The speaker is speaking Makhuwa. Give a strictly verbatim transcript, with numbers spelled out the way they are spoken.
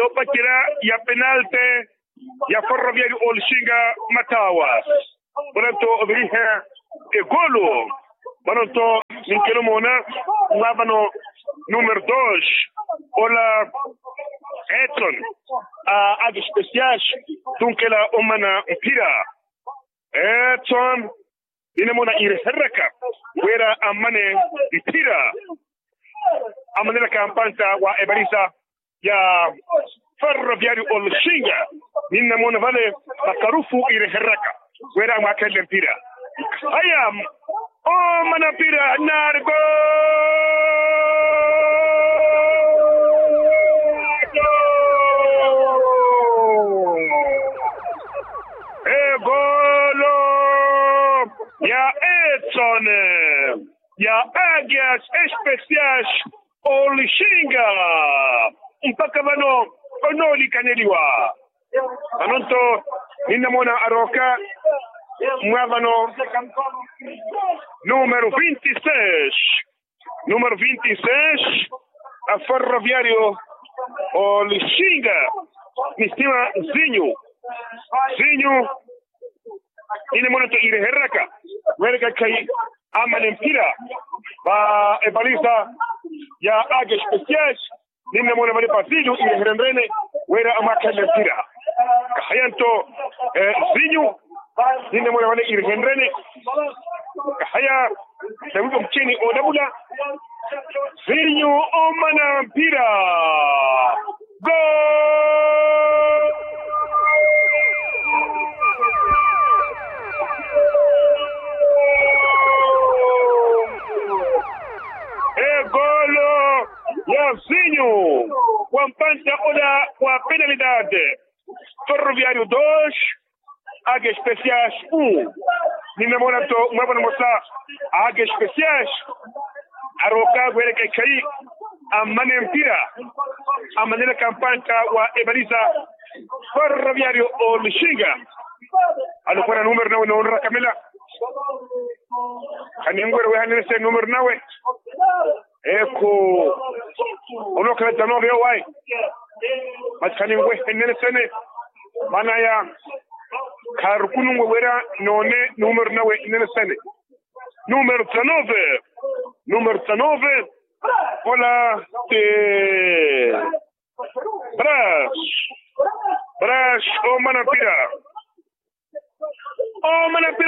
Opacerya ya penalte ya ferroviario olixinga matawa. Vano nto oviriha egolo. Vano nto ninkela omoona mwa vano numero dos ola etson a ake especias tunkela omana mphira. Etson ninamona irehereraka wira amane mphira. Amanelaka mpanta wa eparisa ya ferroviario olixinga. Ninamona vale makarufu irehereraka wira amwakhelele mphira. Haya, omana mphira nari golo. Egolo ya etsone ya agias especias olixinga. Mpaka vano onolikaneliwa. Vano nto ninamona aroka mwa vano numero vinti seis. Numero vinti seis a ferroviario olixinga ni sitima zinyu zinyu. Ninamona nto irehereraka wira ekhayi amane mphira va epalisa ya ake especias. Ninamona vale pasilio irehererene wira amwakhalele mphira. Kahaya nto zinyu ninamona vale irehererene. Kahaya sawipa muchini onavula. Zinyu omana mphira. Go. Egolo ya zinyu wa mpanta ola wa penalidade. Ferroviario dos ake especias u. Ninamona nto mwavana mosa ake especias aroka wira ekhayi amane mpira. Amanelaka mpanta wa eparisa ferroviario olixinga. Alukwana numero nawe noonrakamela. Khaninwerya wehanene se numero nawe. Ekhu onookhala tanove yowayi. Masi khaninwehenene sene. Manaya kharukununwe wira noone numero nawe nene sene. Numero tanove. Numero tanove. Ola ti bras bras omana mpira. Omana mpira.